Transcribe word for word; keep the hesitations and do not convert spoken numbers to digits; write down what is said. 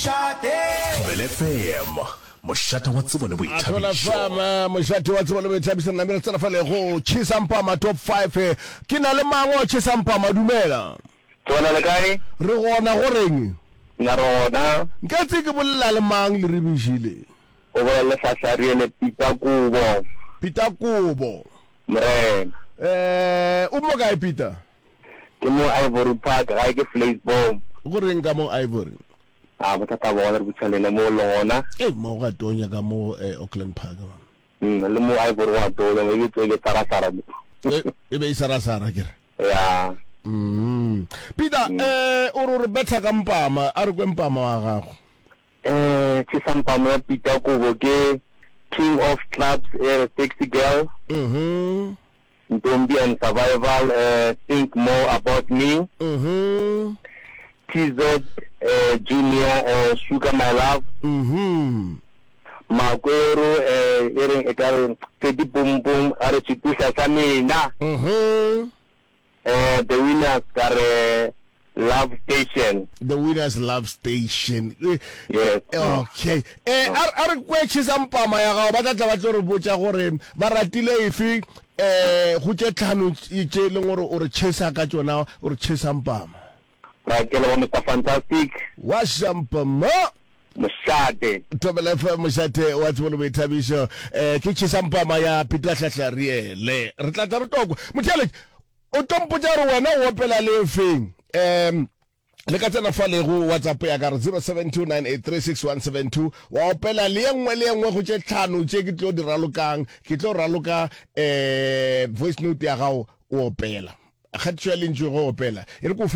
Thobela F M, mošate wa tsebo le Thola boithabišo. Fama, mošate wa tsebo le boithabišo. Re namile re tsena fale go Chisampama Top five. Ke na le mang wa Chisampama? Dumela. Tsona le kae? Re gona, go reng? Nna re gona. Nka tse ke bolela le mang le rebišile? O bolela le Hlahlariele Peter Kobo. Peter Kobo. Morena. Eh, o mo kae, Peter? Ke mo Ivory Park, gae ke Vleisboom. Go reng ka mo Ivory? A bothata ba gona re butša lena mo le gona. E mo ga tonya ka mo eh, Auckland Park. Mm, le mo Ivory go a tonya, e be tse sarasara mo. E e be e sarasara ke re. Ya. Mm. Peter, eh o re re betha ka mpama, a re kwe mpama wa gago. Eh, Chisampama ya Peter Kobo ke King of Clubs, eh, Sexy Girl. Mhm. Ntombi and Survival, eh, Think More About Me. Mhm. T Z eh, Junior, eh, Sugar My Love. Mhm. Makwero, eh, e reng e ka re Teddy Boom Boom, a re Tšhituša sa mina. Mhm. Eh, The Winners ka re Love Station. The Winners, Love Station. Eh, Yes. Okay. Eh a a re kwe Chisampama ya gago, ba tla tla ba tlo re botša gore ba ratile efe eh go tše tlhano tše e leng gore o re chesa ka tšona, o re Chisampama. Ra ke leboga, Mister Fantastic. Wa Shampama. Mošate. Thobela F M, mošate wa tsebo le boithabišo. Eh ke Chisampama ya Peter Hlahlariele. Re tla tla re tokwa. Motheeletši, o tlo mpotša gore wena o opela le efeng. Um le ka tsena fa le go WhatsApp ya ka re zero seven two nine eight three six one seven two, wa opela le ye nngwe le ye nngwe go tše tlhano tše ke tlo di ralokang. Ke tlo raloka eh voice note ya gago o opela, kgatišo ya lentšu go opela e re ko fe.